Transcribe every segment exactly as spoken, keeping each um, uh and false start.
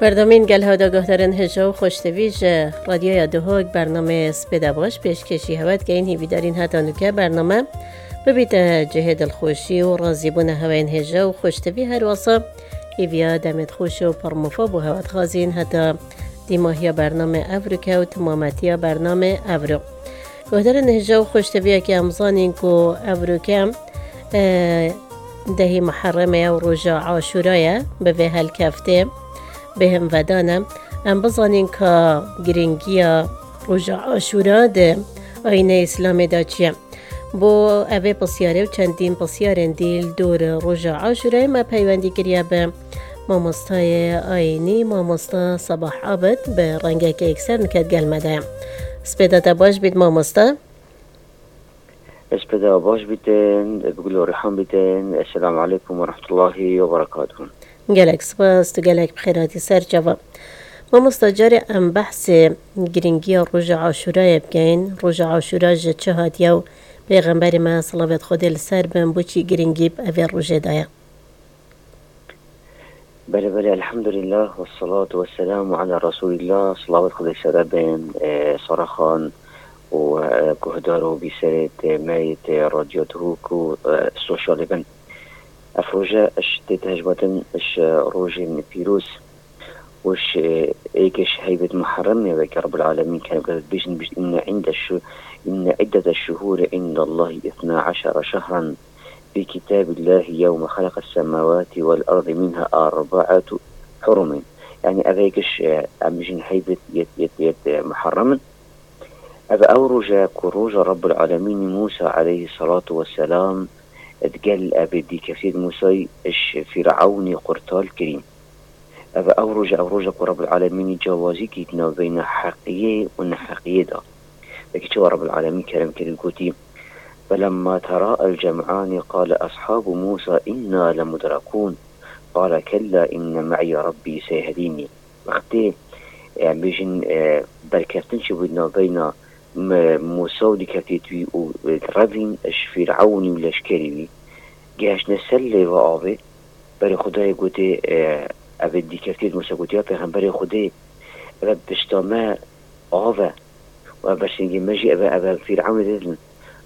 Berdamên gel hewda guhdarên hêja û xweştevî ji Radyoya Duhok bername Spêda Baş pêşkêşî hewe dikeyin. Hîvîdarîn heta nûke bername bibîte cihê dilxweşî û razîbûna heweyên hêja û xweştevî. Her wasa hîviya demê xweş û pirmofa bo hewe dixwazîn heta dîmahiya bername evroke û timametiya bername evro. Guhdarên hêja û xweşteviyekê em zanîn ku evroke, e, dehî Muherremê ye û roja Aşûra ye. Bi vê helkeftê bêhim vedane. Em bizanîn ka girîngiya roja Aşûra di ayînê Îslamê de çi ye. Bo evê pisyarê û çendîn pisyarên dî li dor roja Aşûrayê me peywendî kiriye bi mamostayê ayînî, mamosta Sabah Abid, bi rengeke yekser niket gel me de ye. Spêda te baş bît mamosta. Ez pê de baş bîtin, bi gul û rîhan bîtin. Esselamu aleykum ve rahmetullahi ve berekatuhu. Gelek spas, tu gelek bi xêr hatî ser çava. Mamosta, carê em behsê girîngiya roja Aşûrayê bikeyin. Roja Aşûra ji çi hatiye û Pêxemberê me, silavêt Xwedê li ser bin, bo çi girîngî bi evê rojê daye? Belê, belê, elhamdülillah, ve salatu ve selamu ala Resulillah, silavêt Xwedê sere bin, e, Sara Xan û, e, guhdar û bîserê tê me yê tê Radyo Duhok û, e, sosyalê bin. Ev roje iş tê te hejmatin iş, e, rojên pîroz û iş, e, êk iş heybet Muharrem ye, weke Rabbul Alemîn kerem, bêjin, bêjin, inne inde şu, inne iddete şuhuri indallahi ithna aşara şehran fi kitabillahi yewme halaqes semawati vel ardi minha arbaatu hurumin. Yani ev êk iş, e, em bêjin heybet yet, yet, yet, e, Muharrem in. Ev ew roj e ku roja Rabbul Alemînî Musa aleyhissalatu vesselam digel ev dîkeftiyê Musayî ji Fîrewnî qurtal kirî. Ev ew roj e, ew roj e ku Rabbul Alemînî cewazî kî di navbeyna heqiyê û neheqiyê de. Wekî çawa Rabbul Alemîn kerem kirî gotî, "Felemma tera el cem'ani qale ashabu Musa inna lemudrakûn. Qale kella inne me'ye Rabbî seyehdînî." Wextê, e, em bêjin, e, berkeftin çêbû di navbeyna, m-, Musa û dîkeftiyê wî û, e, revîn ji Fîrewnî û leşkerî wî, gihiştine ser lêva avê, berê Xwedayê gotê, e, ev ê dîkeftiyê Musa gotî, "Ya pêxemberê Xwedê, ev e pişta me av e û ev bersêngê me jî ev e, ev e Fîrewnê didin."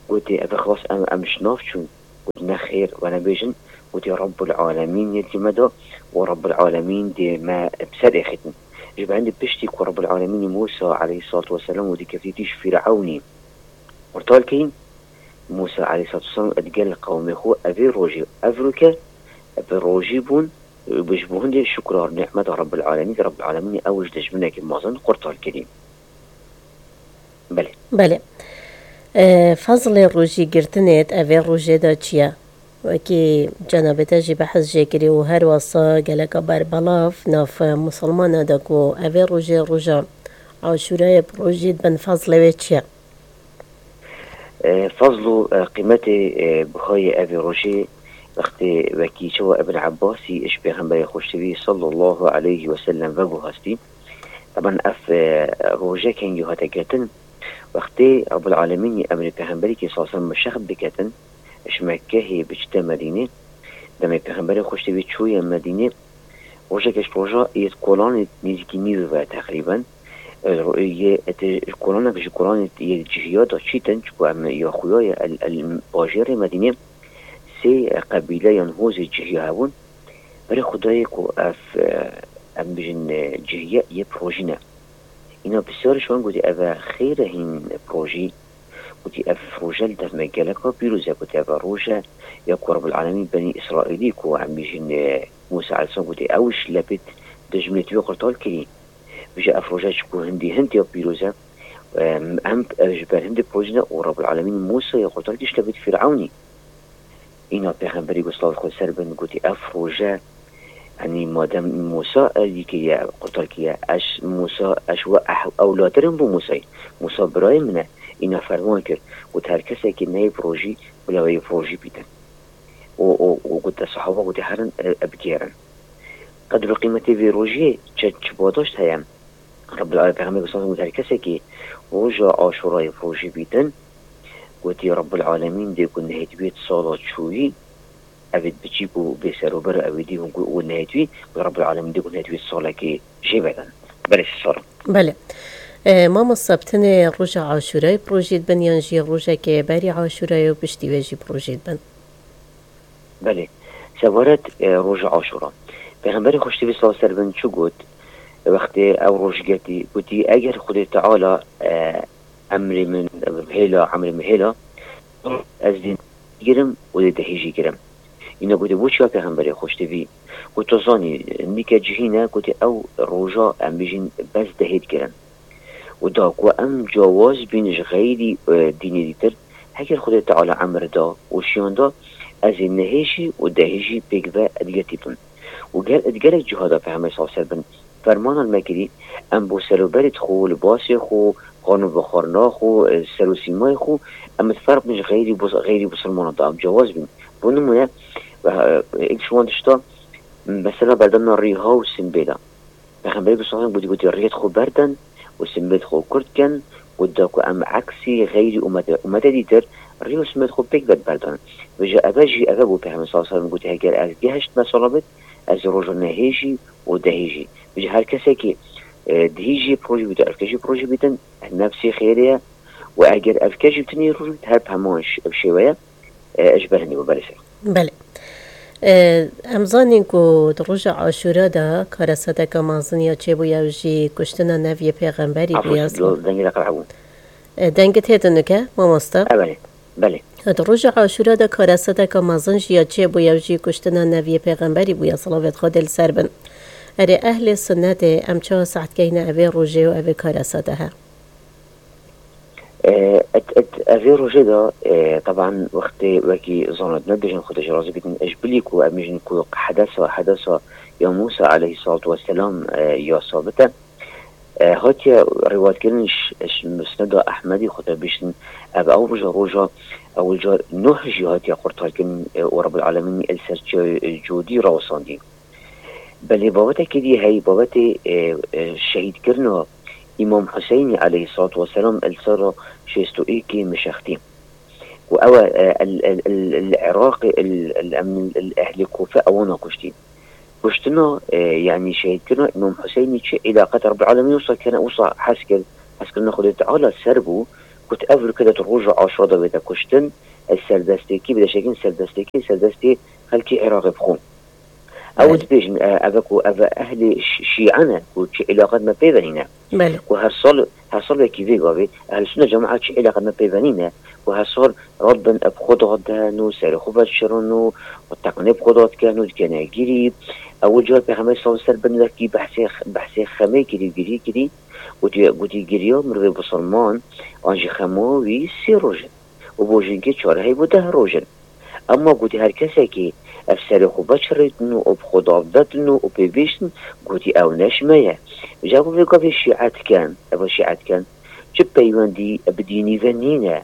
Gotê, "Ev e xilas em, em ji nav çûn." Got, "Nexêr, we nebêjin." Gotê, "Rabbul Alemîn yê dî me da û Rabbul Alemîn dê me bi ser êxîtin." Ji ber hindê piştî ku Rabbul Alemînî Musa aleyhissalatu vesselam û dîkeftî tî ji Fîrewnî qurtal kirîn, Musa aleyhissalatu vesselam digel qewmê xwe evê rojê evroke bi rojî bûn, bi ji bo hindê şukra nîmeta Rabbul Alemîn, Rabbul Alemînî ew ji dijminekî mezin qurtal kirî. Belê. Belê. E, fezlê rojî girtinê di evê rojê de çi ye? Wekî cenabê te jî behs jê kirî û her wasa geleka berbelav nav musulmana de ku evê rojê roja Aşûrayê bi rojî dibin, fezlê wê çi ye? E, fezl û, e, qîmetê, e, bihayê evê rojê wextê wekî çawa Ibn Ebbasî ji Pêxemberê Xweştevî sallallahu aleyhi ve sellem veguhastî. Taban ev, e, roje kengî hate girtin, wextê Rabbul Alemînî emrê Pêxemberî kê sallallahu aleyhi ve sellem bi şex biketin, ji Mekkehê biçite Medînê, demê Pêxemberê Xweştevî çûye Medînê, rojek ji roja yê kolanê nêzîkî nîvê ve teqrîben, e, ro-, yê, e, te-, kolanek ji kolanê yê cihiya da çîtin, çiku em ya xuya ye, el, el, bajêrê Medînê sê, e, qebîle yan hozê cihiya hebûn. Berê Xwedayê ku ev, e, em bijin, e, cihiye yê bi rojî ne. Îna pisyar ji wan gotî, "Ev e xêr e hîn bi rojî?" Gotî, "Ev roje li dev me geleka pîroz e." Gotî, "Ev e roje ya ku Rabbul Alemîn Benî Îsraîlî ku em bijin, e, Musa aleyhisselam gotî, ew ji lepêt dijminê wî qurtal kirî." Bije ev roje çiku hindî hind ya pîroz e, em, em, e, ji ber hindê pojine û Rabbul Alemîn Musayê qurtar kir ji tevî Fîrewnî. Îna Pêxemberî ku silavê Xwedê ser bin gotî, "Ev roje, yanî madem Musa erdî kiriye, qurtar kiriye, ez Musa, ez we eh-, ewlatir im bo Musayê. Musa birayê min e." Îna ferman kir, got, "Her kesekî neyê bi rojî, bila wê bi rojî bîtin." Û, û, û gote sehaba, gote, "Herin, e, e, bigêrin." Qedr û qîmetê vê rojiyê çi, çi badaşt heye? Rebbil Alem, Pêxemberê sallallahu aleyhi ve sellem got, her kesekî roja Aşûrayê bi rojî bîtin, gotî, Rebbil Alemîn dê ku nehêt bêt sala çûyî, evê biçîk û bêserûber û evê dî hûn û nehêt wî, û Rabbul Alemîn dê ku nehêt wî salekê jê vedin. Belê, sê sal. Belê. E, mamosta, bi tenê roja Aşûrayê bi rojê dibin yan jî rojekê berî Aşûrayê û piştî wê jî bi rojê dibin? Belê. Sebaret, e, roja Aşûra. Pêxemberê xweştî bê sal ser bin çi got? Wextê ew roj girtî, gotî, eger Xwedê Teala, e, emrê min, hêla, emrê min hêla, ez dê girim û dê dehê jî girim. Îna gotê, bo çiya pêxemberê xweştî bî? Got, tu zanî, nîke cihî ne, gotê, ew roja em bijîn bes dehê digirin. Û da ku em cawaz bîn ji xeyrî, e, dînê dîtir, heger Xwedê Teala emir da û şiyan da, ez ê nehê jî û dehê jî pêk ve digirtî bim. Û ger, di gelek ciha de Pêxember sallallahu aleyhi ve sellem fermanan me kirî, em bo serûberê xwe, libasê xwe, xwarin û bixwarina xwe, e, ser û sîmayê xwe, em ê ferq bin ji xeyrî bus-, xeyrî bisilmanan de, em cawaz bîn. Bo nimûne, e, êk ji wan tişta, mesela berdana rîha û simbêla. Pêxemberê bi sallallahu aleyhi ve sellem gotî, gotî, rêyê xwe berden û simbêl xwe kurt ken û da ku em eksî xeyrî umete, umete dîtir rê û simbêl xwe pêk ve berdan. Vêca eve jî, eve bû Pêxember sallallahu aleyhi ve sellem gotî, heger ez gehiştime salabet, ez roja nehê jî û dehê jî. Vêca her kesekî, e, dihî jî projî bîtin, evke jî projî bîtin, nefsê xêrê ye û eger evke jî bitinî roj bît, her bi heman ş-, ev şêweye, e, ji ber hindî bû, belê ser. Belê. E, em zanîn ku di roja Aşûra de karesadeka mezin ya çêbûye, ew jî kuştina nev yê pêxemberî bûye. Afû, dengê de qerehe bû. E, dengê tê dinike, mamosta? E, belê. Belê. Di roja Aşûra de karesadeka mezin jî ya çêbûye, ew jî kuştina nev yê pêxemberî bûye, silavêt Xwedê li ser bin. Erê, ehlê sunnetê em çawa saet keyne evê rojê û evê karesade he? E, et, et, evê rojê de, e, teban wextê wekî zanot me bêjin, Xwedê ji razî bîtin, ji bilî ku em bêjin ku hedesa, hedesa ya Mûsa aleyhissalatu vesselam, e, ya sabit e. E, hatiye rîwayetkirin ji, ji Musneda Ehmedî, Xwedê bêjin, ev ew roja, roja ewil car Nuh jî hatiye qurtarkirin, e, û Rabbul Alemîn li ser çiyayê, e, Cûdî rawesandî. Belê, babetekî dî hey, babetê, e, e, şehîdkirina Îmam Huseynî aleyhissalatu vesselam li sala şêst û êkê mişextî. Ku ew e, e, el, el, el, el Iraqê, el, el, em, el ehlê Kûfe ewana kuştî. Kuştina, e, yanî şehîdkirina Îmam Huseynî çi îlaqet Rabbil Alemîn wisa kene, wisa hez kir, hezkirina Xwedê Teala ser bû, got ev rûke de roja Aşura de wê de kuştin, e, serdestêkî, bi deşekin serdestêkî, serdestê xelkê Iraqê bixwe. Ew Belê. Dibêjin, e, ev ku ev ehlê şî-, şîe ne, ku çi îlaqet me pê ve nîne. Belê. Ku her sal, her sal wekî vê gavê, ehl sunne cemaat çi îlaqet me pê ve nîne, ku her sal radibin bi xwe dadin û serê xwe veşirin û, û teqnê bi xwe dadikin û dikene girî. Ew car Pêxember sallallahu aleyhi ve sellem bin wekî behsê, behsê xemê kirî, girî kirî. Gotî, gotî giriya mirovê bisilman, an jî xema wî sê roj in. Û bo jinkê çar hey bo deh roj in. Ema gotî her kesekî ev serê xwe veçirêtin û bi xwe dav vedin û pê bihiştin, gotî ew ne ji me ye. Ji bo vê gavê şîe dikin, ev şîe dikin, çi peywendî bi dînî ve nîne.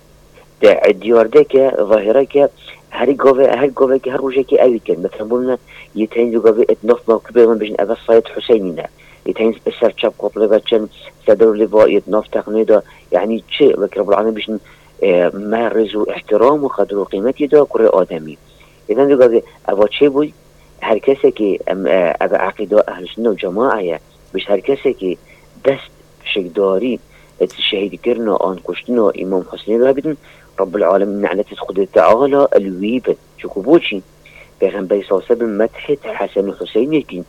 De diyar de ke, zahire ke, her gave, her gavekê, her rojekê ew dikin. Mesela bo min yê teyîn vê gavê et nav me ku pê ve bêjin ev Sayed Huseynî ne. Yê teyîn ser çep qotli ve çin, sedr lê va yê nav teqnê de, yanî çi wek Rabbul Alemîn bêjin, e, me rêz û îhtiram û qedir û qîmetî da kurê Ademî. Êden vê gavê eva çêbûy, her kesekî em, e, ev eqîda ehl sunne û cemaê ye. Bêjt her kesekî dest pişikdarî, e, şehîdkirina an kuştina Îmam Huseyinê de bidin, Rabbul Alemîn ne'letê Xwedê Teala li wî bin. Çiku boçî? Pêxemberî sallallahu aleyhi ve sellem methê Hesen û Huseynê kî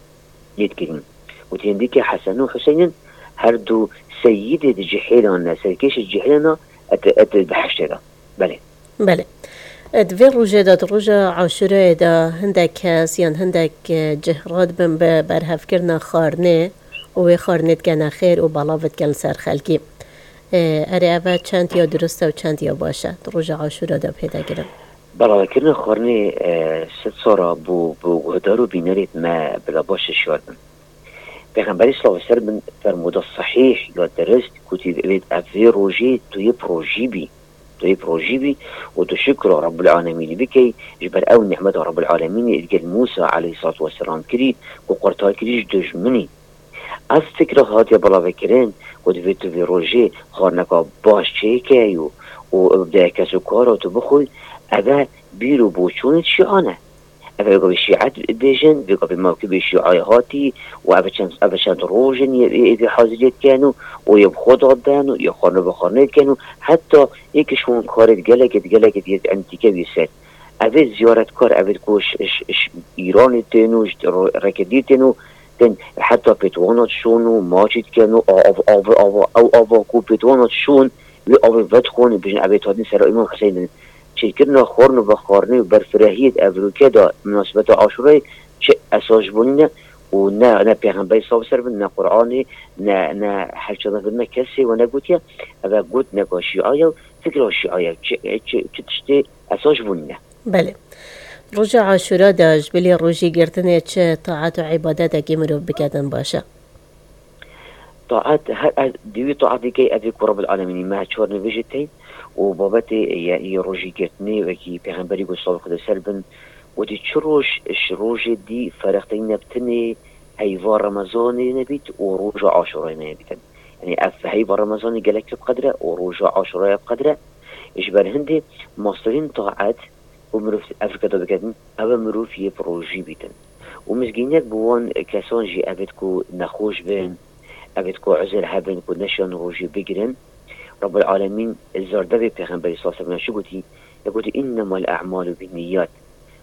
lê dikirîn. Û têndî ke Hesen û Huseynin her du seyîdê di cihêlan ne, serkêşê cihêlan ne, et, et behiştê de. Belê. Belê. Di vê rojê de, di roja Aşûrayê de hindek kes yan hindek, e, cih radibin bi berhevkirina xwarinê û wê xwarinê dikene xêr û belav dikin li ser xelkî. E, erê, ev çend ya dirust e û çend ya baş e di roja Aşûra de pê de girin? Belavekirina xwarinê, e, sed sala bo, bo guhdar û bînerê me bila baş şiyar bin. Pêxemberî sallallahu aleyhi ve sellem fermûda sehîh ya dirist gotî, ev, ev vê rojê tu yê projî bî. Tu yê projî bî û tu şukra Rabbul Alemînî bikey, ji ber ew nîmeta Rabbul Alemînî li gel Mûsa aleyhissalatu vesselam kirî ku qurtar kirî ji dijminî. Ev fikra hatiye belavekirin ku divê tu vê rojê xwarineka baş çêkey û, û bi kesokara tu bixwî, eve bîr û boçûnê şîan e. Ev ê gavê şîet bêjin, vê gavê mewkibê şîayê hatî û ev çend, ev çend roj in yê, yê, yê haziriyê dikin û, û yê bi xwe dadin û yê xwarne bi xwarnê dikin û heta yê ki şûn karê gelekê, gelekê yê entîke wî ser. Ev ê ziyaretkar, ev ê ku ji, ji, ji Îranê tên û ji ro-, rêkê dî tên û tên heta pêtwana dişon û maçî dikin û av, av, av, ew ava ku pêtwana dişon, wê avê vedixwin û bijin ev ê tadin sera Îmam Huseynin. Çêkirina xwarin û vexwarinê û berfirehiyê di evroke de minasebeta Aşûrayê çi esas ji bo nîne û ne, ne pêxemberî sav ser bin, ne Qur'anê, ne, ne hevçadan bin, ne kesê we negotiye. Ev e got neka şîaya û fikra şîaya, çi, çi, çi tiştê esas ji bo nîne. Belê. Roja Aşûra de ji bilî rojî girtinê çi taet û îbadetekî mirov biketin baş e? Taet, her, her, di wî taetê key ev ê ku Rabbul Alemînî me çar nivêjê tey û babetê ye, yê rojî girtinê wekî pêxemberî got salê Xwedê ser bin, gotî çi roj ji rojê dî ferqteyî nebtinê heyva Remezanê nebît û roja Aşûrayê nebîtin. Yanî ev heyva Remezanê gelek pê bi qedre û roja Aşûraya bi qedre. Ji ber hindê mastirîn taet û mirov ev rike de biketin, ew e mirov yê bi rojî bîtin. Û mizgînek bi wan kesan jî ev ê ku nexweş bin, ev ê ku uzir hebin ku neşan rojî bigirin. Rabbul Alemîn zardevê pêxemberî sallallahu aleyhi ve sellem çi gotî? Ya gotî, "Innemel a'malu binniyat."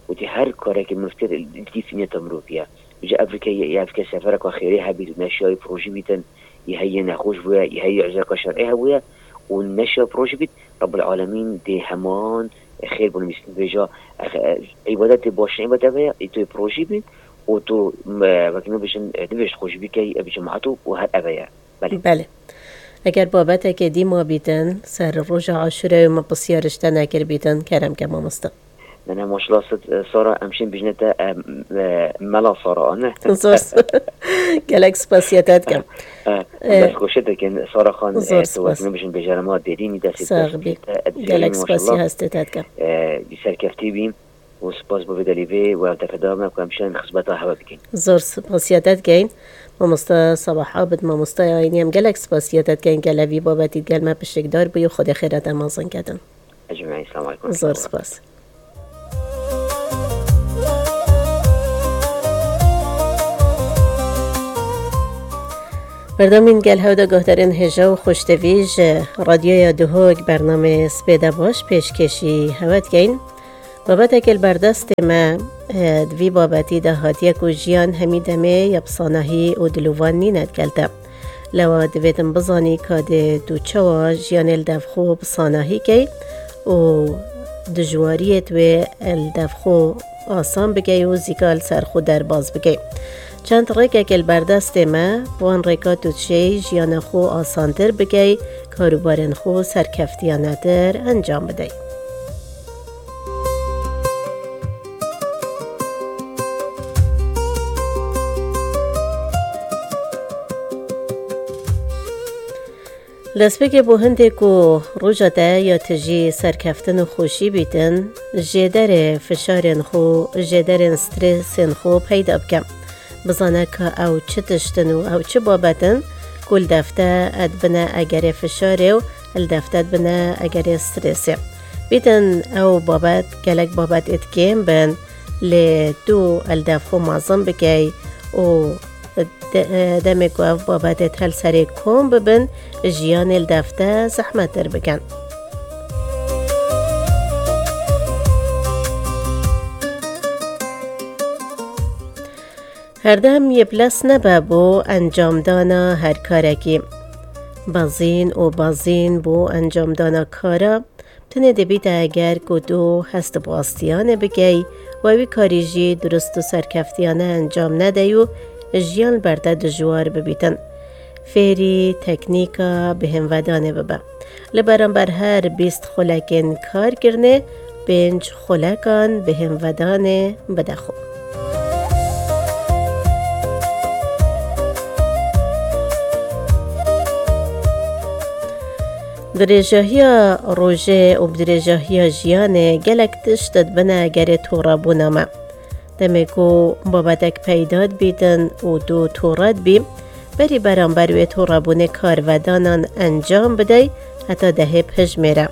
Gotî, her karekî mirov kir, dîf niyeta mirov ye. Ji ev rike ye, ev rike sefereka xêrê hebît û neşayî bi rojî bîtin, yê heyê nexweş bûye, yê heyê uzreka şer'î hebûye û neşa bi rojî bît, Rabbul Alemîn dê heman xêr bo nivîsîn bêja, e, e, îbadetê baş, îbadet ev e, ê tu yê bi rojî bî û tu, e, wekî me bêjin, e, nivêj xweş bikey, e, bi cemaat û, û her ev e ye. Belê. Belê. Eger babetekê dî ma bîtin, ser roja Aşûreyê me pisyar ji te nekir bîtin, kerem ke mamoste. Ne, ne, maşallah, sit, e, Sara, em şên bijne te, e, e, Mela Sara, ne? Zor s-, gelek spasiya te dikim. E, e, e, dest xweşe dikin, Sara Xan, zor e, tu spas. Wekî me bijin bêjarema derînî destê te sax bî. Gelek spasiya hestê te dikim. E, serkeftî bî û spas bo vê delîvê û ev defa dewam e ku em şên xizmeta hewe bikin. Zor spasiya te dikeyn. Mamosta Sabah Abid, mamosta ayînî, em gelek spasiya te dikeyn, gel evî babetî gel me pişikdar bûyî, Xwedê xêra te mezin kedin. Ecmaîn, selamu aleykum. Zor spas. Berdamîn gel hewda guhdarên hêja û xweştevî ji Radyoya Duhok bernamê Spêde Baş pêşkêşî hewe dikeyn. Babeteke li berdestê me, e, di vî babetî de hatiye ku jiyan hemî demê ya bi sanahî û dilovan nîne digel te. Lewa divêtin bizanî ka dê tu çawa jiyanê li devxwe bi sanahî key û dijwariyê tu wê li devxwe asan bikey û zîka li ser xwe derbas bikey. Çend rêkeke li berdestê me, bi wan rêka tu dişêy jiyana xwe asantir bikey, karûbarên xwe serkeftiyanetir encam bidey. Destpêkê bo hindê ku roja te ya tijî serkeftin û xweşî bîtin, jêderê fişarên xwe, jêderên stresên xwe peyda bike. Bizane ka ew çi tişt in û ew çi babet in ku li defte dibine egerê fişarê û li defte dibine egerê stresê. Bîtin ew babet gelek babetêt kêm bin, lê tu li dev xwe mezin bikey û de-, demê ku ev babetêt hel serê kom bibin, jiyanê li defte zehmettir bikin. Herdem yê bi lez nebe bo encamdana her karekî. Bazîn û bazîn bo encamdana kara, tenê dibîte eger ku tu hest bi astiyanê bikey, we wî karî jî durust û serkeftiyane encam nedey û jiyan li ber te dijwar bibîtin. Fêrî teknîka bihêmvedanê bibe. Li beramber her bîst xulekên karkirinê, pênc xulekan bihêmvedanê bide xwe. Dirêjahiya rojê û bi dirêjahiya jiyanê gelek tişt dibine gerê torebûna me. Demê ku babetek peyda dibîtin û tu tore dibî, berî beramber wê torebûnê karvedanan encam bidey heta dehê bihijmêre.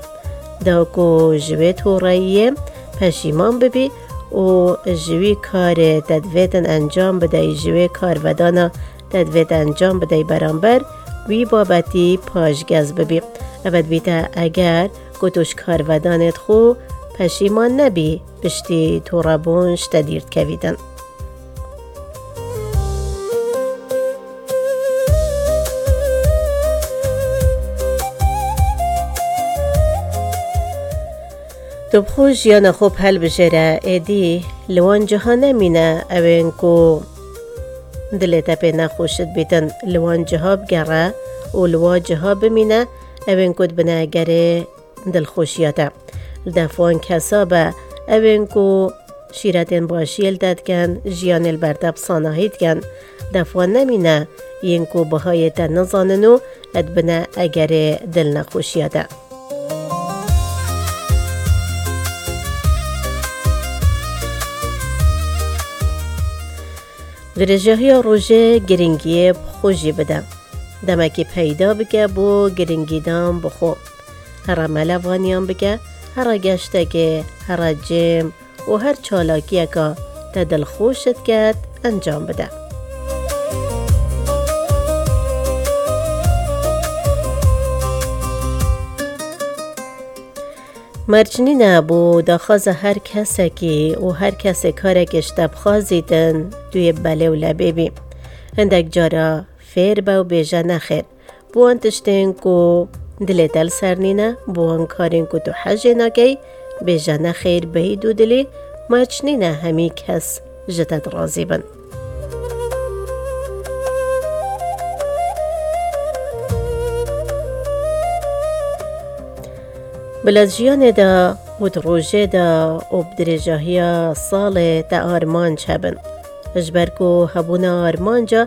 Da ku ji wê toreyiyê peşîman bibî û ji wî karê te divêtin encam bidey, ji wê karvedana te divêt encam bidey beramber wî babetî paşgez bibî. Ev dibîte eger ku tu ji karvedanê xwe peşîman nebî, piştî torebûn ji te dîr dikevîtin. Tu bi xwe jiyana xwe bi helbijêre, êdî li wan ciha nemîne ewên ku dilê te pê nexweş dibîtin, li wan ciha bigere û li wa ciha bimîne ewên ku dibine gerê dilxweşiya te. Li def wan kesa be ewên ku şîretên başiyê li te dikin, jiyanê li ber te bi sanahî dikin. Li def wan nemîne yên ku bihayê te nizanin û dibine egerê dilnexweşiya te. Dirêjahiya rojê giringiyê bi xwe jî bide. Demekî peyda bike bo giringîdan bi xwe. Here melevaniyan bike, here geştekê, here cêm û her çalakiyeka te dilxweş diket encam bide. Merc nîne bo daxwaza her kesekî û her kesê karekê ji te bixwazîtin, tu yê belê û lebê bî. Hindek cara fêr be û bêje nexêr. Bi wan tiştên ku dilê te li ser nîne, bi wan karên ku tu hejê nakey, bêje nexêr bêyî dûdilî, merc nîne hemî kes ji te dirazî bin. Bila di jiyanê de û di rojê de û bi dirêjahiya salê te armanc hebin. Ji ber ku hebûna armanca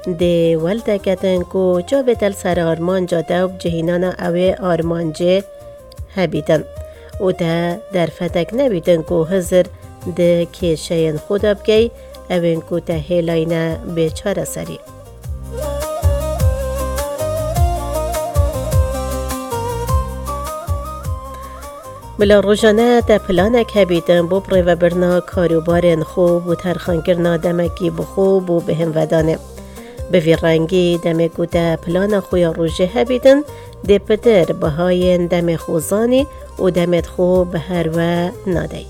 dê wel te ketin ku çavê te li ser armanca te û bi cihînana ew ê armancê hebîtin û te derfetek nebîtin ku hizir di kêşeyên xwe de bikey, ewên ku te hêlayne bê çareserî. Bila rojane te planek hebîtin bo birêvebirina karûbarên xwe, bo terxankirina demekî bi xwe, bo bihênvedanê. Bi vî rengî demê ku te plana xwe ya rojê hebîtin, dê pitir bihayên demê xwe zanî û demê xwe bi her we nadey.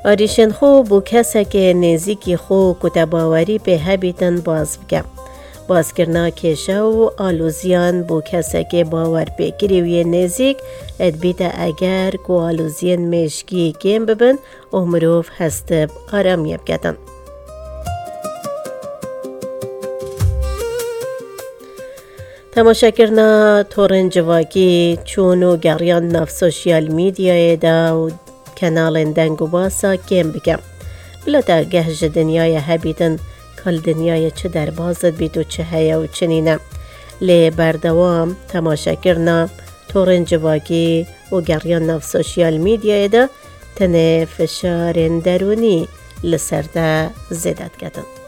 Arîşên xwe bo kesekê nêzîkî xwe ku te bawerî pê hebîtin baz bike. Bazkirina kêşe û aloziyan bo kesekê bawerpêkirî û yê nêzîk dibîte eger ku aloziyên mêşkî kêm bibin û mirov hest bi aramiyê biketin. Temaşekirina torên civakî, çûn û geriyan nav sosyal medyayê de û kenalên deng û basa kêm bike. Bila te geh ji dinyayê hebîtin, ka li dinyayê çi derbaz dibît û çi heye û çi nîne. Lê berdewam temaşekirina torên civakî û geriyan nav sosyal medyayê de tenê fişarên derûnî li ser te zêde diketin.